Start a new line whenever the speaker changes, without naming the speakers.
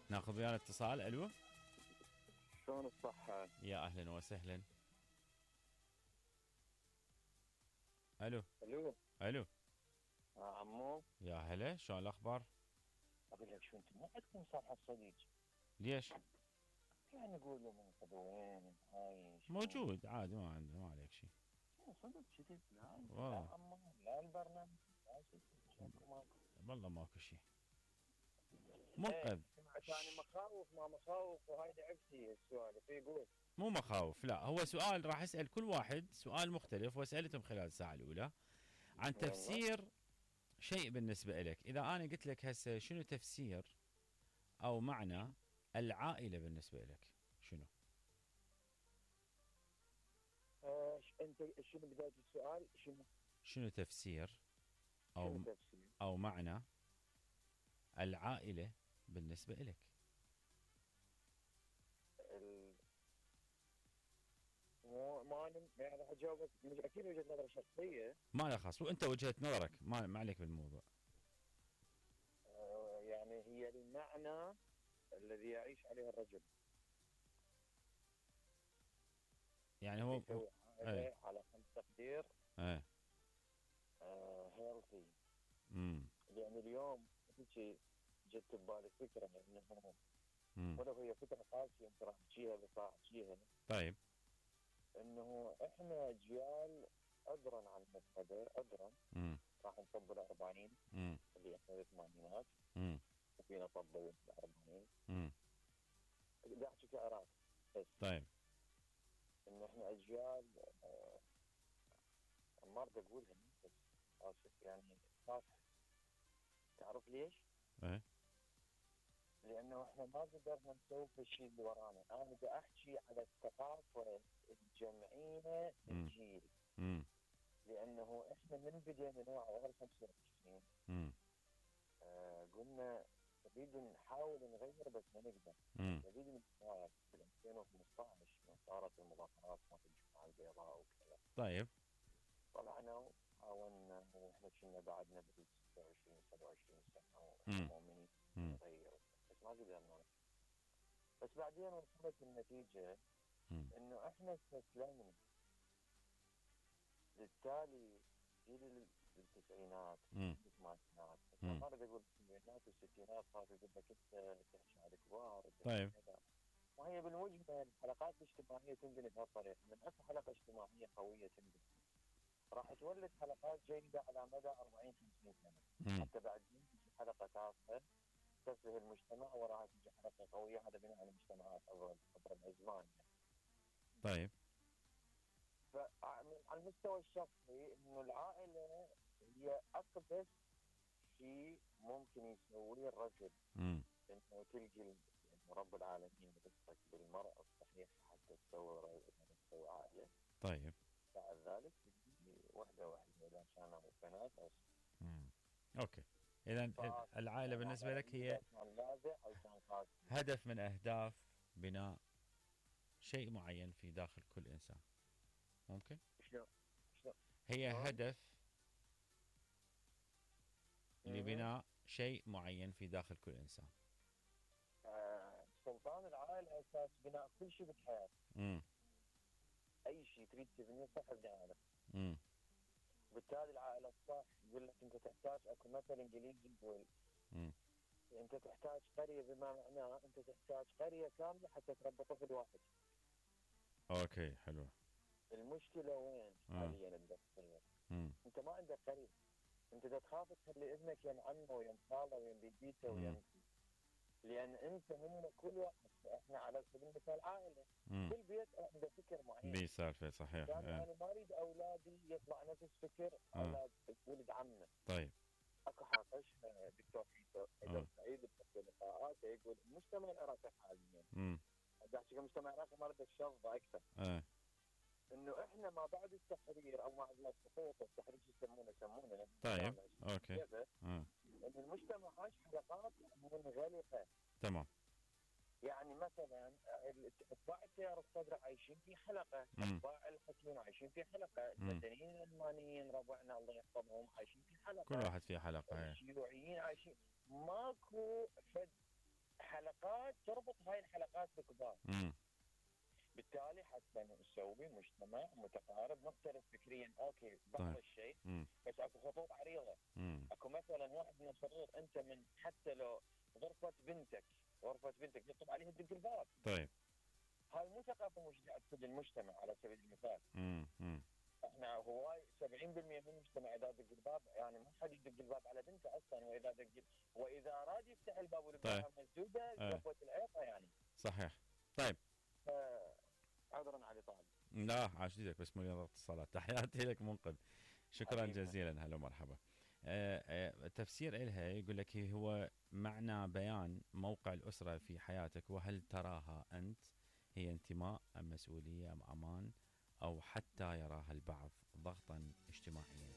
ناخذ ويانا اتصال. الو،
شلون الصحة؟
يا اهلا وسهلا. الو.
الو.
الو،
عمو،
يا هلا، شلون الاخبار؟
اقول لك شو، انت ما عندكم صفحة صديق؟
ليش؟
يعني نقولوا من قبل وين عايش
موجود عادي، ما عنده، ما عليك شيء.
صدق كذب. لا انت لا
والله
عمو، لا البرنامج، لا شو ماكو.
والله ماكو شيء
ايه
منقذ.
سمعت يعني مخاوف ما مخاوف، وهاي لعبتي السوالف يقول.
مو مخاوف، لا، هو سؤال راح اسال كل واحد سؤال مختلف، وسالتهم خلال الساعه الاولى عن
يلا.
تفسير شيء بالنسبه لك. اذا انا قلت لك هسه شنو تفسير او معنى العائله بالنسبه لك، شنو؟
انت شنو بداية السؤال؟
شنو تفسير
شنو
او
تفسير؟
او معنى العائله بالنسبه لك؟
ال... مو ما يعني راح اجاوبك، مش اكيد وجهة نظر شخصية.
ما له خاص، وانت وجهه نظرك، ما عليك بالموضوع.
يعني هي المعنى الذي يعيش عليه الرجل،
يعني
اللي
هو
يسوي
ايه.
عائلة على خمس تقدير
ايه.
هيلثي.
امم.
يعني اليوم هيك جت ببالي فكرة انه
امم.
ولو هي فكرة قاسية انت راح تحكيها بس راح احكيها،
طيب.
انه احنا اجيال عذرا عن المبتدأ عذرا
امم.
راح نطبل 40
امم.
اللي احنا بالثمانينات
امم.
وفينا طبل 40.
امم.
بدي احكي كعراق بس.
طيب.
انه احنا اجيال ما اريد اقولها بس اسف يعني خاف. تعرف ليش؟
ايه.
لانه احنا ما قدرنا نسوي الشيء اللي ورانا. انا بدي احكي على الثقافه الجمعيه للجيل،
امم.
لانه احنا من بدينا نوع غير 25
امم.
قلنا نريد نحاول نغير بس ما نقدر.
امم.
نريد نتغير في 2015 من صارت المظاهرات مالت الجمعه البيضاء وكذا.
طيب.
طلعنا وحاولنا واحنا كنا بعدنا بال 26 27 سنه واحنا
امم.
مؤمنين
امم.
نغير بس ما قدرنا. بس بعدين وصلت النتيجة انه احنا استسلمنا. بالتالي جيل التسعينات والثمانينات، ما اريد اقول السبعينات والستينات، صار يقول لك انت تحكي على الكبار.
طيب.
ما هي بالمجمل الحلقات الاجتماعية تنبني بهالطريقة، من اكو حلقة اجتماعية قوية تنبني راح تولد حلقات جيدة على مدى 40 50 سنة. حتى بعدين تجي حلقة تافهة تفه المجتمع، وراها تجي حلقة قوية، هذا بناء على المجتمعات عبر الازمان يعني.
طيب.
فعلى المستوى الشخصي انه العائله هي اقدس شيء ممكن يسويه الرجل. انه تلقي يعني رب العالمين رزقك بالمرأة الصحيحة حتى تسوي عائله.
طيب.
بعد ذلك تجي وحده اذا كانوا بنات او
اوكي. اذا العائله بالنسبه لك هي هدف من اهداف بناء شيء معين في داخل كل انسان. ممكن
شلون
هي هدف لبناء شيء معين في داخل كل انسان.
سلطان العائله اساس بناء كل شيء بالحياه. اي شيء تريد تبنيه صح ابني عائله. بالتالي العائله الصح يقول لك انت تحتاج، اكو مثل انجليزي يقول انت تحتاج قريه، بما معناه انت تحتاج قريه كامله حتى تربي طفل واحد.
اوكي، حلو.
المشكله وين حاليا بتصير؟ انت ما عندك قريه، انت تخاف تخلي ابنك يم عمه ويم خاله ويم بيبيته ويم، لان انت هم كل واحد. احنا على سبيل المثال عائله، كل بيت عنده فكر معين.
دي سالفه صحيح.
يعني انا ما اريد اولادي يطلع نفس فكر اولاد ولد عمنا.
طيب.
اكو حاقش دكتور سعيد بحكي لقاءاته يقول المجتمع العراقي حاليا، بدي احكي المجتمع العراقي ما اريد الشظه اكثر. انه احنا ما بعد التحرير او ما بعد السقوط والتحرير يسمونه.
طيب. اوكي.
ان المجتمع عاش حلقات منغلقه.
تمام.
يعني مثلا اتباع التيار الصدر عايشين في حلقه، اتباع الحكيم عايشين في حلقه، المدنيين الالمانيين ربعنا الله يحفظهم عايشين في حلقه،
كل واحد في حلقه.
الشيوعيين عايشين. ماكو فد الحلقات تربط هاي الحلقات بكبار.
امم
بالتالي حتى نسوي مجتمع متقارب مختلف فكريا اوكي بعض
طيب.
الشيء،
امم
بس اكو خطوط عريضه.
امم
اكو مثلا واحد من الخطوط انت من حتى لو غرفه بنتك يطب عليها تدق الباب.
طيب.
هاي مو ثقافه مشجعه تفيد المجتمع على سبيل المثال.
امم
احنا هواي 70% من المجتمع اذا دق الباب يعني ما حد يدق الباب على بنته اصلا، واذا اراد يفتح الباب
طيب.
والباب مسدوده
ايه
قفوه العيقه يعني.
صحيح. طيب.
عذرا على طالب.
لا عاش لك، بس مليون اتصالات. تحياتي لك منقذ، شكرا
حبيبي.
جزيلا، هلا ومرحبا. تفسير إلها يقول لك هو معنى بيان موقع الأسرة في حياتك، وهل تراها أنت هي انتماء أم مسؤولية أم أمان، أو حتى يراها البعض ضغطا اجتماعيا.